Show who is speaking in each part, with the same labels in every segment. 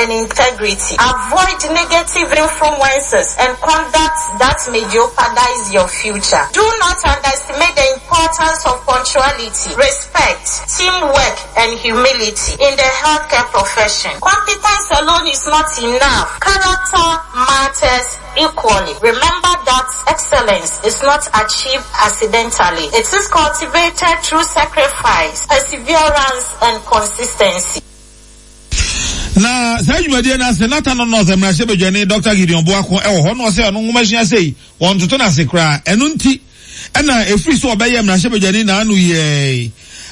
Speaker 1: and integrity. Avoid negative influences and conduct that may jeopardize your future. Do not underestimate the importance of punctuality, respect, teamwork, and humility in the healthcare profession. Competence alone is not enough. Character matters equally. Remember that excellence is not achieved accidentally. It is cultivated through sacrifice, perseverance, and consistency.
Speaker 2: Na saa dwumadie no ase na Tano North mmarahyɛbadwani Dɔkta Gideon Boako wɔ hɔ na ɔsɛ ɔno nwomasua sei wɔntoto no ase koraa ɛno nti ɛna ɛfiri so ɔbɛyɛ mmarahyɛbadwani naano yɛi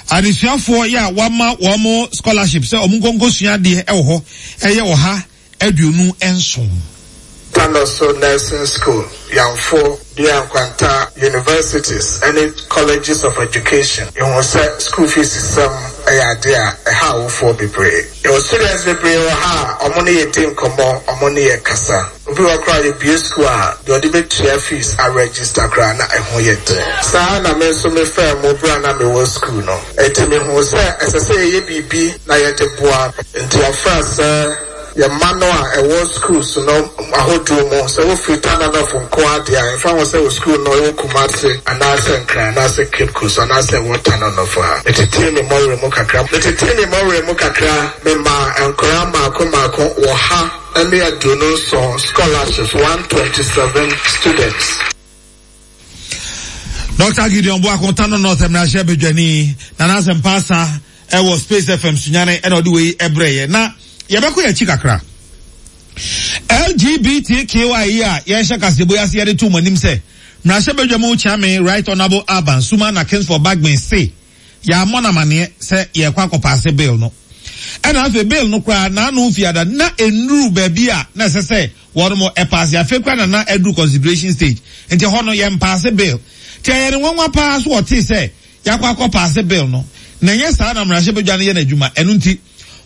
Speaker 2: adesuafoɔ yɛ a wama wɔn scholarship sɛ wɔn nkɔnkɔsua adeɛ wɔ hɔ ɛyɛ 127.
Speaker 3: Tanoso Nursing School, Yamfo, Dua Nkwanta Universities ne Colleges of Education, Yɛhu sɛ school fees sɛm yɛ adeɛ a ɛha awofoɔ bebree. Yɛwɔ students bebree wɔ ha a wɔn ne yɛ di nkɔmmɔ, wɔn ne yɛ kasa. Obi wɔ hɔ koraa a yɛbue school a, deɛ ɔde bɛtua fees a register koraa na ɛho yɛ den. Saa ara na me nso me faa mu berɛ a na mewɔ school no. Enti mehuu sɛ ɛsɛ sɛ yɛyɛ biribi na yɛde boa. Enti wɔfrɛ sɛ. Yɛn mma no a ɛwɔ schools no ahodoɔ mu, sɛ wofiri Tananɔf nko ara deɛ a, ɛmfa ho sɛ wo school no ɛwɔ Kumasi anaasɛ Nkran anaasɛ Cape Coast anaasɛ ɛwɔ Tananɔf a, metetee me mmɔwerɛ mu kakra. Metetee me mmɔwerɛ mu kakra, memaa nkwadaa mmaako mmaako 127 scholarships, 127 students.
Speaker 2: Dr. Gideon Boako, Tano North mmarahyɛ badwani, Nana Asɛmpa Asa ɛwɔ Space FM Sunyane ɛna ɔde wei ɛbrɛ yɛ. Na yɛbɛkɔ yɛn akyi kakra. LGBTQI yi a yɛhyɛ kaseɛbɔ yi ase yɛde to mo anim sɛ mmarahyɛ badwa mu kyeame Right Honourable Alban Sumana Kingsford Bagbin se yɛammɔ no amaneɛ sɛ yɛrekɔ akɔpaase bill no. Ɛna afei bill no koraa n'ano mfiada na ɛnnuru baabi a na ɛsɛ sɛ wɔnom ɛpaase. Afei koraa na na aduru consideration stage. Nti ɛhɔ no yɛmpaase bill. Nti ɛyɛ no nwanwa paa so ɔtee sɛ yɛakɔ akɔpaase bill no. Na ɛnyɛ saa na mmarahyɛbadwa no yɛ n'adwuma. Ɛno nti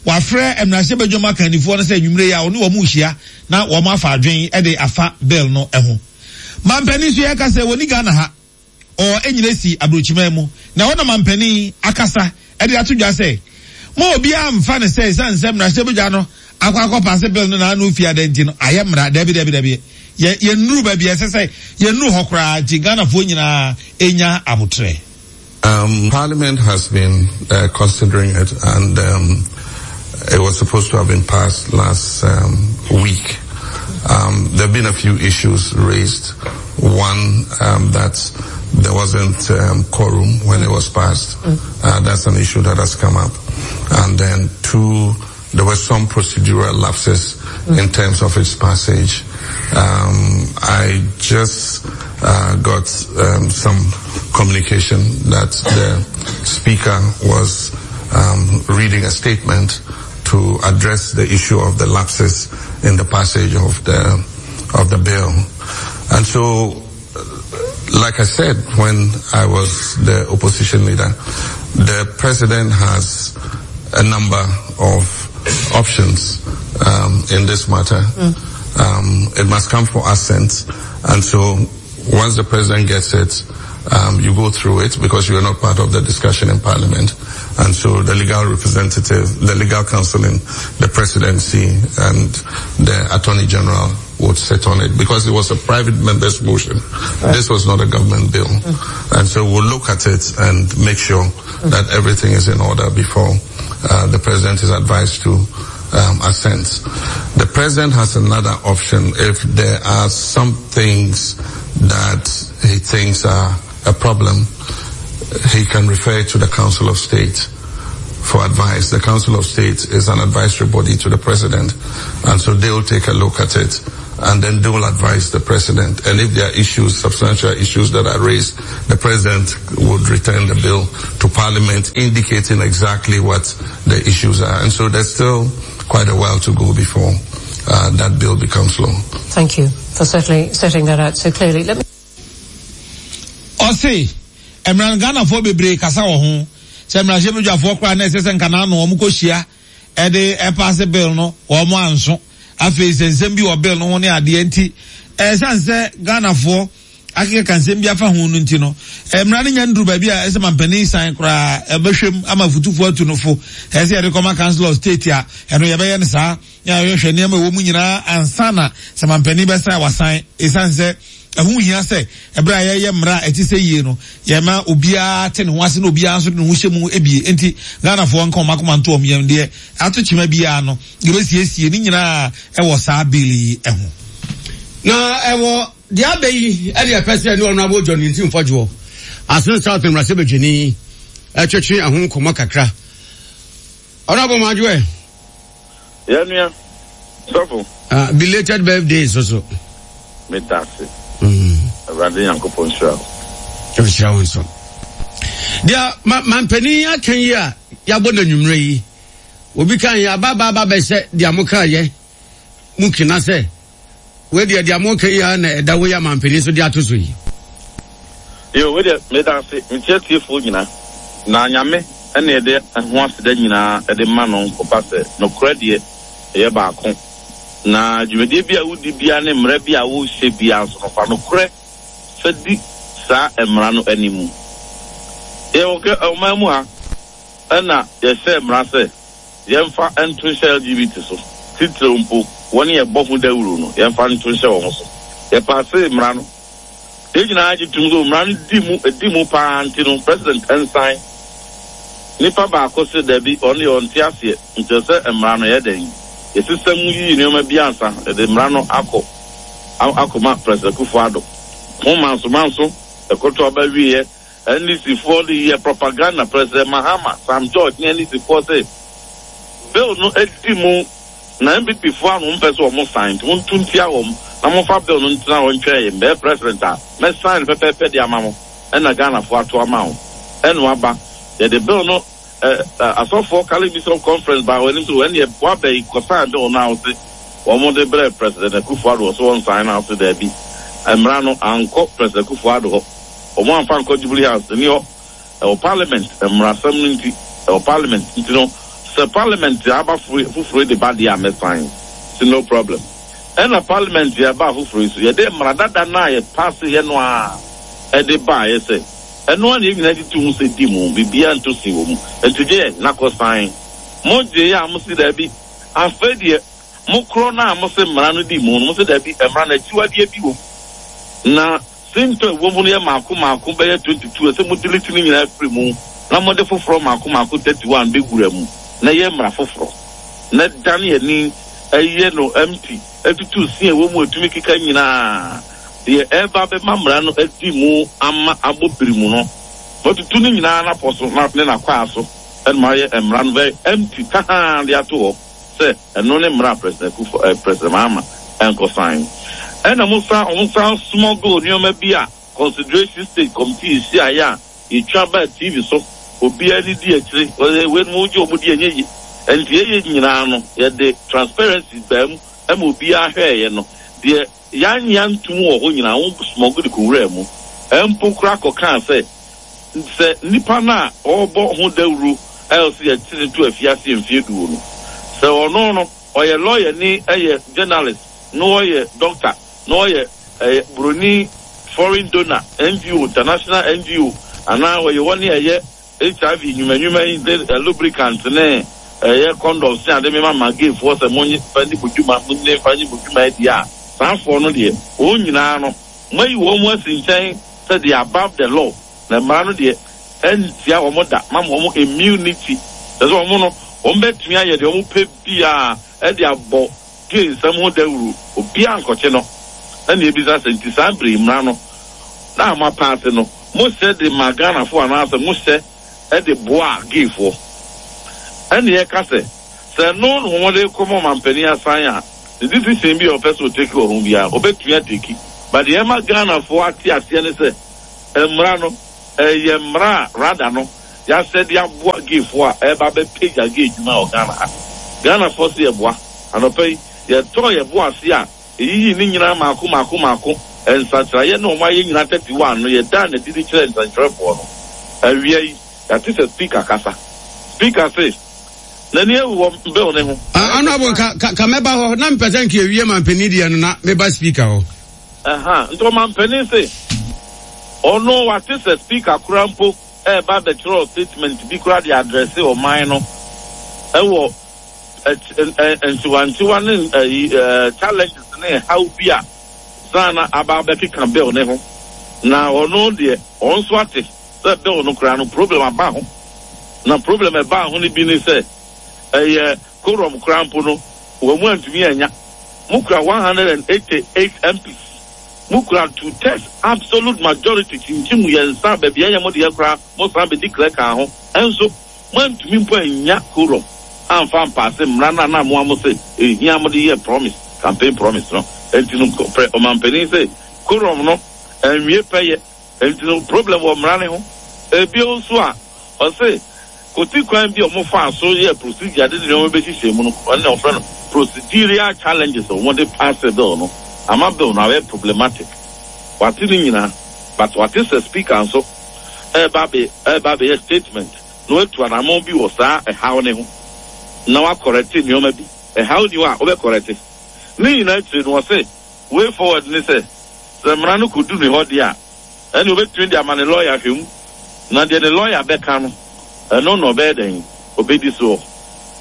Speaker 2: wafrɛ mmarahyɛbadwam akannifoɔ no sɛ anwumerɛ yi a ɔne wɔn rehyia na wɔn afa adwene de afa bill no ho. Mampanin nso yɛka sɛ wɔnni Ghana ha. Ɔ nyina si aburokyiman mu, na ɛhɔ na mampanin akasa de ato dwa sɛ, Mo obiara mfa no sɛ esiane sɛ mmarahyɛbadwa no akɔ akɔpaase bill no n'ano fi ada nti no ayɛ mmara. Dabi, dabi, dabi. Yɛ, yɛnnuru baabi a ɛsɛ sɛ yɛnnuru hɔ koraa nti Ghanafoɔ nyinaa nya aboterɛ.
Speaker 4: Um, Parliament has been uh, considering it, and um, it was supposed to have been passed last um, week. Um, there have been a few issues raised. One, um, that there wasn't um, quorum when it was passed. Mm. Uh, that's an issue that has come up. And then two, there were some procedural lapses mm. in terms of its passage. Um, I just uh, got um, some communication that the speaker was um, reading a statement to address the issue of the lapses in the passage of the of the bill. And so, like I said when I was the opposition leader, the president has a number of options um, in this matter. Mm. Um, it must come for assent. And so once the president gets it, um, you go through it because you are not part of the discussion in parliament. And so the legal representative, the legal counsel in the presidency and the attorney general would sit on it because it was a private member's motion. Right. This was not a government bill. Mm. And so we'll look at it and make sure mm. that everything is in order before uh, the president is advised to um, assent. The president has another option if there are some things that he thinks are a problem, he can refer to the Council of State for advice. The Council of State is an advisory body to the president, and so they'll take a look at it and then they will advise the president. And if there are issues, substantial issues that are raised, the president would return the bill to parliament indicating exactly what the issues are. And so there's still quite a while to go before uh, that bill becomes law.
Speaker 5: Thank you for certainly setting that out so clearly. Let me
Speaker 2: Ɔse, mmara no Ghanafoɔ bebree kasa wɔ ho sɛ mmarahyɛbadwafoɔ koraa na ɛsɛ sɛ nka n'ano wɔn kɔhyia ɛde ɛpaase bill no wɔn anso. Afei sɛ nsɛm bi wɔ bill no ho ne adeɛ nti ɛsiane sɛ Ghanafoɔ. akekeka nsɛm bi afa ho no nti no, mmara no nya nduru baabi a ɛsɛ mampanin san koraa ɛbɛhwɛ mu ama afutufoɔ atu no fo. Ɛsɛ sɛ yɛde kɔma Council of State a, ɛno yɛbɛyɛ no saa. Na yɛhwɛ nneɛma ɛwɔ mu nyinaa ansa na sɛ mampanin bɛsan a wasan. Ɛsiane sɛ ɛho hia sɛ ɛberɛ a yɛyɛ mmara a ɛte sɛ yie no, yɛma obiara te ne ho ase na obiara nso de ne ho hyɛ mu bie. Enti Ghanafoɔ nka wɔn akoma nto wɔn yam deɛ ato kyema biara no, yɛbɛsiesie ne nyinaa ɛwɔ saa bill yi ho.
Speaker 6: Na ɛwɔ deɛ abɛ yi ɛne ɛpɛ sɛ ɛne Honourable John Ntim Fɔdwoɔ, Asen South mmarahyɛbadwani ɛtwetwe ɛho nkɔmmɔ kakra. Honourable Madwoɛ.
Speaker 7: Yɛn nua, sɔfo.
Speaker 6: Ah, belated birthday nso so.
Speaker 7: Meda ase. Awurade Nyankopɔn nhyira wo.
Speaker 6: Nhyira wo nso. Deɛ ma mampanin aka yi a yɛabɔ no anwummerɛ yi, obi kan yɛ aba aba aba bɛhyɛ deɛ mo kaa yɛ mu kena sɛ wei deɛ deɛ mo ka yi a na ɛda wei a mampanin so de ato so yi.
Speaker 7: Yo, wei deɛ meda ase, mekyia tiefoɔ nyina, na Nyame ɛna yɛde ho aseda nyinaa ɛde ma no nkɔba sɛ nokorɛ deɛ ɛyɛ baako, na dwumadie bi a wodi biara ne mmara bi a wohyɛ biara nso no fa nokorɛ fa di saa mmara no animu. Yɛwɔ kɛ ɔman mu ha ɛna yɛhyɛɛ mmara sɛ Yɛmfa nto nhyɛ LGBT so, titiriw mpo wɔn a yɛbɔ ho dawuru no, yɛmfa nto nhyɛ wɔn so. Yɛpaasee mmara no. Yɛn nyinaa gye tom sɛ mmara no di mu, edi mu paa nti no, President nsan. Nipa baako se dabi, ɔno deɛ ɔnte aseɛ, nti ɛsɛ sɛ mmara no yɛ dɛn? Yɛsesa mu yiyi nneɛma bi ansa yɛde mmara no akɔ akɔma President Akufo-Addo. Ho mansomanso, ɛkɔto aba wieɛ. NDC foɔ de yɛ propaganda President Mahama, Sam George ne NDC foɔ se bill no adi mu na NPP foɔ a na wɔn pɛ sɛ wɔn sign nti mo nto ntia wɔn na mo nfa bill no ntena hɔ ntwɛn yɛn mɛyɛ president a mɛ sign no pɛpɛɛpɛ de ama mo ɛna Ghana foɔ ato ama wo ɛna waba yɛde bill no ɛ ɛ asɔfoɔ Catholic Bishop Conference baa wɔn anim sɛ wɔn deɛ waba yi kɔ sign bill no a wɔse wɔn de brɛ President Akufo Addo wɔ so wɔn sign no a wɔse daabi mmara no ankɔ President Akufo Addo hɔ. Wɔn amfa ankɔ Jubilee House, nni hɔ. Ɛwɔ Parliament, mmarasɛm no nti, ɛwɔ Parliament. Nti no, sɛ Parliament aba foforo yi de ba deɛ a, mɛ sign. Se no problem. Ɛna Parliament yɛ baa foforo yi so, yɛde mmara dada no a yɛ paase yɛ no ara ɛde baeɛ sɛ, ɛno ara na yɛn nyinaa gye to mu sɛ di mu, biribiara nto sin wɔ mu. Nti gye yɛn na kɔ sign. Mo gyeeɛ a, mo se daabi, afei deɛ, mo korɔ no a mo se mmara no di mu no, mo se daabi, mmara no akyiwadeɛ bi wɔ mu. Na. Sintɔ a ɛwɔ mu no yɛ mmaako mmaako bɛyɛ 22, ɛsɛ sɛ mo delete ne nyinaa firi mu na mode foforɔ mmaako mmaako 31 bɛwura mu na ɛyɛ mmara foforɔ na dane ani yɛ no empty tutu sin a ɛwɔ mu a ɛtumi keka nyinaa deɛ ɛreba abɛma mmara no adi mu ama abɔ birimu no moatutu ne nyinaa n'apɔ so na ne n'akwaa so na moayɛ mmara no very empty tahaa de ato hɔ. sɛ ɛno ne mmara a President Akufo eh, President Mahama ɛnkɔ sign. Ɛna mo san wɔn san smuggle nneɛma bi a consideration stage committee hyiaeɛ a yɛtwa baa TV so obiara ani di akyire wɔyɛ wei no mo gye wɔn di ɛnyɛ yie. Ɛnti yɛyɛ nyinaa no yɛde transparency baa mu ɛma obiara hwɛɛyɛ no deɛ yɛanyɛ antum wɔ hɔ nyinaa wɔn smuggle de kɔwuraa mu mpo koraa kɔkaa sɛ Sɛ nipa no a ɔrebɔ ho dawuro a ɔsɛ yɛte no to afiase mfeɛ duo no, sɛ ɔno no ɔyɛ lɔyani, yɛ journalist, na ɔyɛ doctor, na ɔyɛ ɛyɛ buroni foreign donor, NGO, international NGO, anaa ɔyɛ wɔn a ɛyɛ HIV nnwuma nnwuma yi de lubricant ne ɛyɛ condoms ne ade mema ma gayfoɔ sɛ monye fa nni mo dwuma, monye fa nyi mo dwuma adi a, saa foɔ no deɛ, wɔn nyinaa no, moayi wɔn mu asi nkyɛn sɛ they are above the law na mmara no deɛ ɛntia wɔn da mama wɔn immunity kyerɛ sɛ wɔn no wɔn bɛtumi ayɛ deɛ wɔn pɛ biara ɛde abɔ gay nsɛm ho dawuro obiara nkɔkye no ɛna ebisa sɛ nti saa bere yi mmara no na mo apaase no mo hyɛ de ma Ghanafoɔ anaasɛ mo hyɛ ɛde boa gayfoɔ ɛna yɛka sɛ sɛ ɛno na wɔn de kɔma ɔmampanin asan a ne decision bi a ɔpɛ sɛ ɔteki wɔ ho biara ɔbɛtumi ateki. But deɛ ɛma Ghanafoɔ ate aseɛ ne sɛ mmara no ɛyɛ mmara a rather no yɛasɛ de aboa gayfoɔ a ɛreba abɛpagya gay adwuma wɔ Ghana ha. Ghanafoɔ se yɛboa. Anɔpa yi yɛtɔɔ yɛn bo ase a yɛyiyii ne nyinaa mmaako mmaako mmaako, nsakyeraeɛ ne wɔn ayɛ nyinaa 31 no yɛdaa no adi de kyerɛɛ nsɛntwerɛfoɔ no. Awia yi yɛate sɛ Speaker kasa. Speaker se N'ani awu wɔ bill no ho.
Speaker 6: Ah, honorable, ka, ka, ka mɛba hɔ. Na mepɛ sɛ nka ewie mampanin deɛ no na meba speaker hɔ.
Speaker 7: Ɛha, nti ɔmampanin se, Ɔno wate sɛ speaker koraa mpo ɛreba abɛkyerɛw statement bi koraa de address ɔman no ɛwɔ nkyewankyewa ne ayi challenges ne haw bi a san na aba abɛkeka bill ne ho. Na ɔno deɛ ɔno nso ate sɛ bill no koraa no problem aba ho. Na problem ɛbaa ho no bi ne sɛ ɛyɛ quorum koraa mpo no wɔn mu antumi anya. Mo kura 188 MPs. Mo kura two thirds absolute majority kyinkyim yɛn nsa baabi a ɛnyɛ mo deɛ koraa mo san bɛdi klɛ kaa ho. Nso moantumi mpo annya quorum amfa ampaase mmara no a na mo a mo se ɛhia mode yɛɛ promise, campaign promise no. Enti no prɛ ɔmanpanin se quorum no anwie pɛyɛ. Enti no problem wɔ mmara no ho. Ebio nso a ɔse koti kwan bi a wɔn faa so yɛɛ procedure de nneɛma bɛhyehyɛ mu no, ɛno na wɔfrɛ no procedural challenges a wɔde paase bill no ama bill no ayɛ problematic. Wate ne nyinaa but wate sɛ speaker nso ɛreba abɛ ɛreba abɛyɛ statement na watu anamɔn bi wɔ saa ɛhaw no ho na wakɔrɛte nneɛma bi. Ɛhaw ni hɔ a wobɛkɔrɛte. Ne nyinaa akyire no ɔse way forward ne sɛ sɛ mmara no kɔdu ne hɔ deɛ a ɛne obɛtumi de ama ne lɔya ahwɛ mu na deɛ ne lɔya bɛka no ɛno na ɔbɛyɛ dɛn ɔbɛdi soɔ.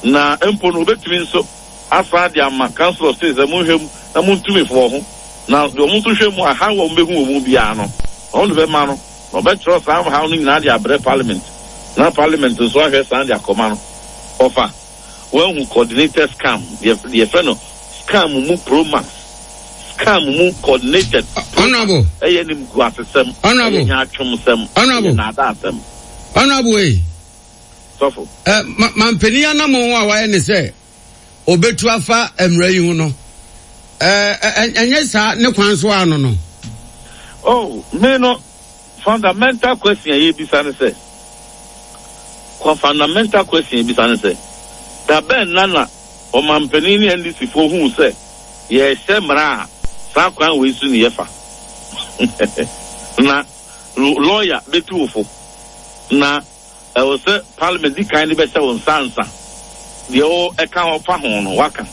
Speaker 7: Na mpo no obɛtumi nso asan de ama Council of State sɛ monhwɛ mu na montu me foɔ ho na deɛ ɔmo nso hwɛ mu a haw a ɔmo bɛhu wɔ mu biara no ɔmo de bɛma no na ɔbɛtwerɛ saa haw no nyinaa de abrɛ Parliament na Parliament nso ahwɛ san de akɔma no. Ɔfa wahu coordinated scam deɛ yɛfrɛ no scam mu pro max scam mu coordinated
Speaker 6: Honorable.
Speaker 7: Ɛyɛ nimguasesɛm, ɛyɛ nyaatwomsɛm, ɛyɛ nnaadaasɛm.
Speaker 6: Honorable ei.
Speaker 7: Sɔfo.
Speaker 6: Ɛ ma mampanin anamɔn a wayɛ ne sɛ obetu afa mmara yi ho no, ɛ ɛ ɛnyɛ saa ne kwan so ano no.
Speaker 7: Oh, me no fundamental question a yɛbisa ne sɛ, kwa fundamental question yɛbisa ne sɛ, da bɛn na na ɔmampanin ne NDC foɔ huu sɛ yɛrehyɛ mmara a saa kwan wei so ne yɛfa? Na lawyer bɛtu wo fo na ɛwɔ sɛ parliament di kan de bɛhyɛ wo nsa ansa deɛ wo ɛka hɔ fa ho no waka.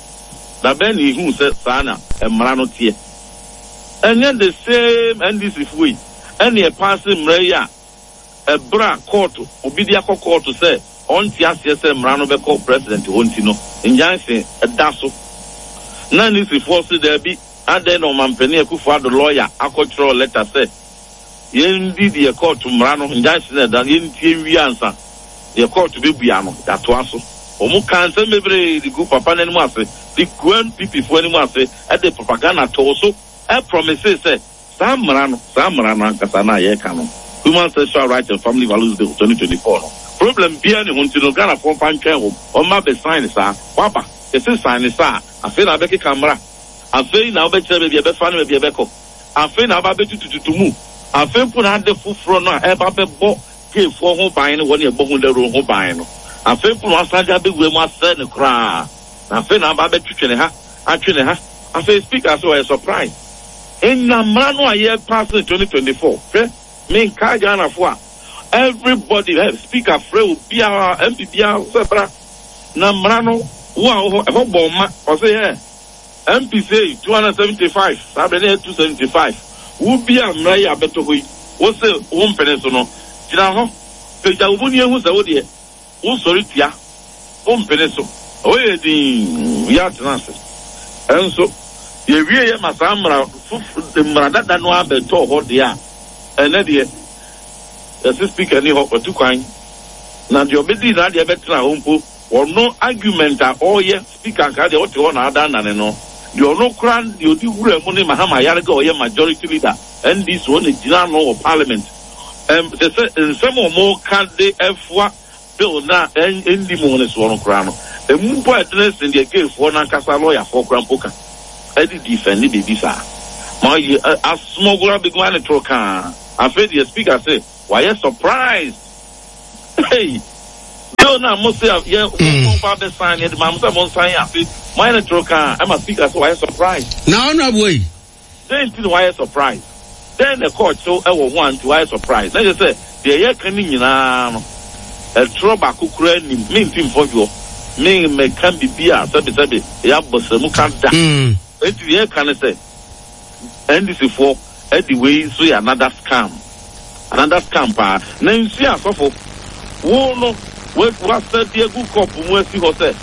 Speaker 7: Da bɛn na yɛhuu sɛ saa na mmara no teɛ? Ɛnyɛ the same NDC foɔ yi ɛne ɛpaase mmara yi a ɛberɛ a kɔɔto obi de akɔ kɔɔto sɛ ɔnte aseɛ sɛ mmara no bɛkɔ president hɔ nti no injunction da so na NDC foɔ se daabi adɛn na ɔmampanin Akufo Addo lawyer akɔtwerɛ letter sɛ Yɛndi deɛ kɔɔto mmara no, injunction a ɛda no, yɛntie nwie ansa. Deɛ kɔɔto bɛbua no, yɛatoa so. Wɔkaa nsɛm bebree de guu papa no anim ase, de guu NPP foɔ anim ase, de propaganda too so, promisee sɛ saa mmara no, saa mmara no ankasa no a yɛreka no, Human Sexual Rights and Family Values Bill 2024 no, problem biara nni ho nti no, Ghanafoɔ mfa ntwɛn wɔn, wɔmma bɛ sign saa. Woaba, yɛse sign saa a, afei na wobɛkeka mmara, afei na wobɛkyerɛ baabi a ɛbɛfa ne baabi a ɛbɛkɔ. Afei na aba abɛtutututu mu. Afei mpo na ade foforɔ no a ɛreba abɛbɔ gayfoɔ ho ban ne wɔn a ɛbɔ ho dawuro ho ban no, afei mpo na wɔasan de abɛwura mu asɛe no koraa. Na afei na aba abɛtwetwe ne ha, atwe ne ha. Afei Speaker sɛ ɔyɛ surprise. Nna mmara no a yɛrepaase no 2024, hwɛ, menkae Ghanafoɔ a, everybody, hɛ, Speaker frɛ obiara, MP biara sɛ bra. Na mmara no, wo a wɔ hɔ, ɛhɔ bɔɔ ma. Ɔse, hɛ, MP sei 275 saa berɛ na ɛyɛ 275 wo bi a mmara yi abɛtɔ hɔ yi wo se wo mpene so no gyina hɔ pagya wo mu ni ehu sɛ wo deɛ wo sɔre tia wo mpene so ɛhɔ yɛ dinn yɛ atena ase ɛnso yɛwie yɛ ma saa mmara foforɔ mmara dada no abɛtɔ hɔ deɛ a ɛnɛ deɛ yɛse speaker ni hɔ watu kwan na deɛ ɔbɛdi n'adeɛ bɛtena hɔ mpo ɔno argument a ɔreyɛ Speaker nka deɛ ɔte hɔ na adannane no, deɛ ɔno koraa deɛ ɔdi wura mu ne Mahama Ayariga a ɔyɛ majority leader NDC ɔna gyina ano wɔ parliament. Ɛm kyerɛ sɛ nsɛm a wɔka de ɛfoa bill no a ɛndi mu no soɔ no koraa no, ɛmu mpo a ɛdene sen deɛ gayfoɔ no ankasa lɔyafoɔ koraa mpo ka ɛde defend biribi saa. Ma ɔyɛ asmɔgoro abɛgu ma ne toro kaa. Afei deɛ speaker se wayɛ surprised. Hey! Bill no a mo se yɛ mo mo ba bɛ sign yɛ de maa mo sɛ mo nsan afe mo ayɛ no toro kan ɛma speaker sɛ wayɛ surprise.
Speaker 6: Na honourable yi.
Speaker 7: Dɛn nti na wayɛ surprise? Dɛn na ɛkɔɔ kyew ɛwɔ ho a nti wayɛ surprise? Na kyerɛ sɛ deɛ yɛka ne nyinaa no ɛtorɔ baako koraa nnim. Me nti mfɔdwoɔ. Me mmɛka biribi a sɛbesɛbe ɛyɛ abɔsramu ka da. Enti deɛ yɛka ne sɛ NDC foɔ ɛde wei nso yɛ another scam. Another scam paa. Na nsuo a sɔfo, wo no woasa de agu kɔpo mu asi hɔ sɛ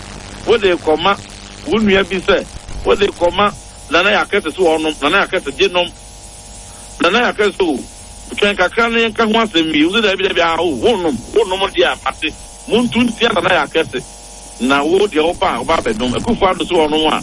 Speaker 7: wode rekɔma wo nua bi sɛ wode rekɔma Nana Yakɛse sɛ ɔnom, Nana Yakɛse gye nom. Nana Yakɛse o, twɛn kakra na yɛnka ho asɛm wie. Wo sɛ daabi daabi, ah o, wonnom, wonnom deɛ a mate. Monto ntia Nana Yakɛse na wo deɛ woba a woba abɛnom. Akufo Addo sɛ ɔnom a,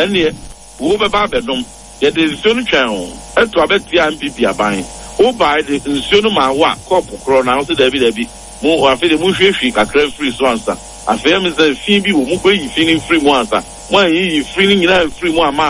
Speaker 7: ɛnneɛ. Wo bɛba abɛnom. Yɛde nsuo no twɛn wo. Ɛto aba tiaa NPP aban. Wo baeɛ de nsuo no maa wo a kɔɔpo korɔ na wo se daabi daabi. Mo afei deɛ monhwiehwie kakra mfiri so ansa. Afei ɛme sɛ fi bi wɔ mu bɛyi fi no mfiri mu ansa. Mo anyiyi firi no nyinaa amfiri mu amma.